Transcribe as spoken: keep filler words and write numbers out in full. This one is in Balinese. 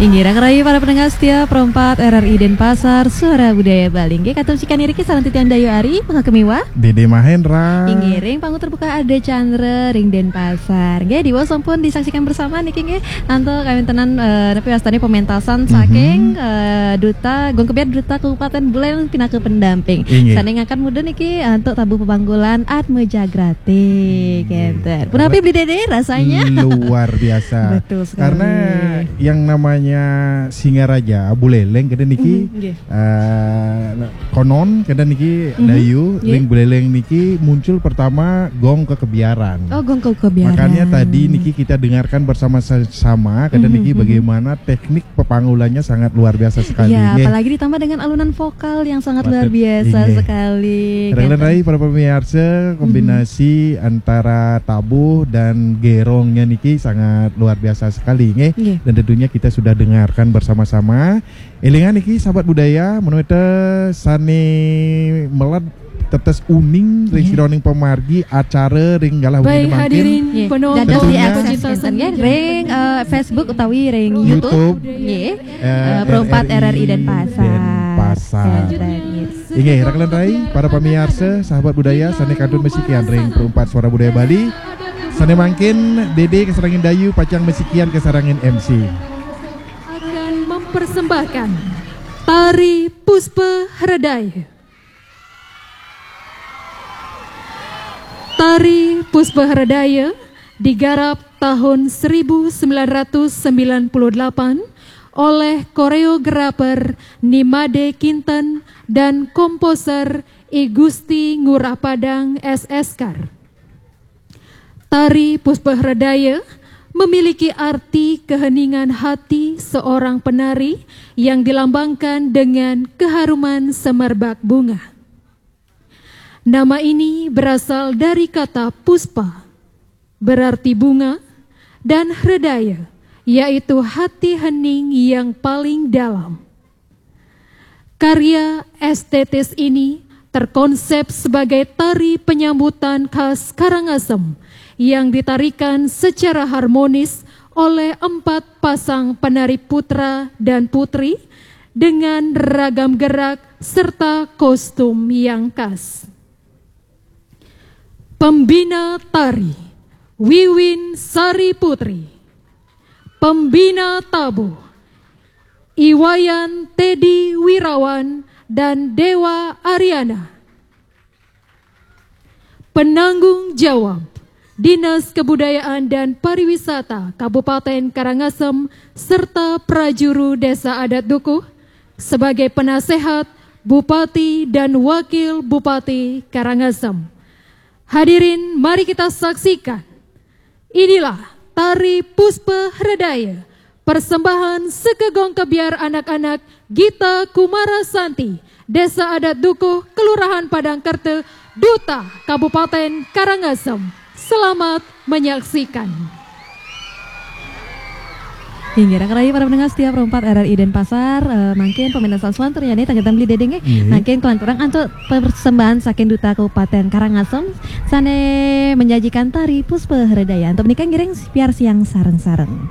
Inggih, rangkarayu para pendengar setia Pro empat R R I Denpasar, Suara Budaya Bali. Inggih, katuncikan iriki sareng titiang Dayu Ari, Maha Kemiwa. Dede Mahendra. Inggih, ring panggung terbuka Ade Chandra, ring Denpasar. Inggih, diwaos sampun disaksikan bersama niki inggih, antuk kawéntenan, eh, napi wastane pementasan saking, eh, Duta, Gong Kebyar Duta Kabupaten Buleleng pinaka pendamping. Inggih. Sane ngangkat mudun niki antuk tabuh pepanggulan Atma Jagrati, kenten. Punapi Beli Dede rasanya? Luar biasa. Betul sekali. Karena yang namanya Singaraja, Buleleng, kenten niki, eh, konon, kenten niki, Dayu, ring Buleleng niki muncul pertama gong kekebiaran. Oh, gong kekebiaran. Makanya tadi niki kita dengarkan bersama-sama, kenten niki bagaimana teknik pepanggulannya sangat luar biasa sekali. Ya, apalagi ditambah dengan alunan vokal yang sangat luar biasa sekali. Rangkarayu para pemirsa, kombinasi antara tabuh dan gerongnya niki sangat luar biasa sekali, nggih. Dan tentunya kita sudah dengarkan bersama-sama. Elingan niki, sahabat budaya, menawi te sane meled tetes uning ring sajeroning pamargi acara ring galah wengi mangkin. Dados diakses enten nggih ring, eh, Facebook utawi ring YouTube. YouTube. Nggih. Eh, Pro empat R R I Denpasar. Denpasar. Enten, yes. Inggih, rangkarayu para pamirsa, sahabat budaya, sane kantun masikian ring Pro empat Suara Budaya Bali. Sane mangkin Dede kasarengin Dayu pacang masikian kasarengin M C. Akan mempersembahkan Tari Puspa Hredaya. Tari Puspa Hredaya digarap tahun seribu sembilan ratus sembilan puluh delapan oleh koreografer Nimade Kinten dan komposer I Gusti Ngurah Padang S S Kar. Tari Puspa Hredaya memiliki arti keheningan hati seorang penari yang dilambangkan dengan keharuman semerbak bunga. Nama ini berasal dari kata puspa, berarti bunga, dan hredaya, yaitu hati hening yang paling dalam. Karya estetis ini terkonsep sebagai tari penyambutan khas Karangasem yang ditarikan secara harmonis oleh empat pasang penari putra dan putri dengan ragam gerak serta kostum yang khas. Pembina tari, Wiwin Sari Putri. Pembina tabuh, Iwayan Teddy Wirawan dan Dewa Ariana. Penanggung jawab, Dinas Kebudayaan dan Pariwisata Kabupaten Karangasem serta prajuru Desa Adat Dukuh sebagai penasehat Bupati dan Wakil Bupati Karangasem. Hadirin, mari kita saksikan. Inilah Tari Puspa Hredaya, persembahan Seka Gong Kebyar anak-anak Gita Kumara Santi, Desa Adat Dukuh, Kelurahan Padang Kerta, Duta Kabupaten Karangasem. Selamat menyaksikan. Inggih, rangkarayu para pendengar setia Pro empat R R I Denpasar, eh, mangkin pementasan selanturnya nih, tanggapan Beli Dede nggih. Iya. Mangkin kelanturang antuk persembahan saking Duta Kabupaten Karangasem sane menyajikan tari Puspa Hredaya. Antuk menika ngiring piarsayang sareng-sareng.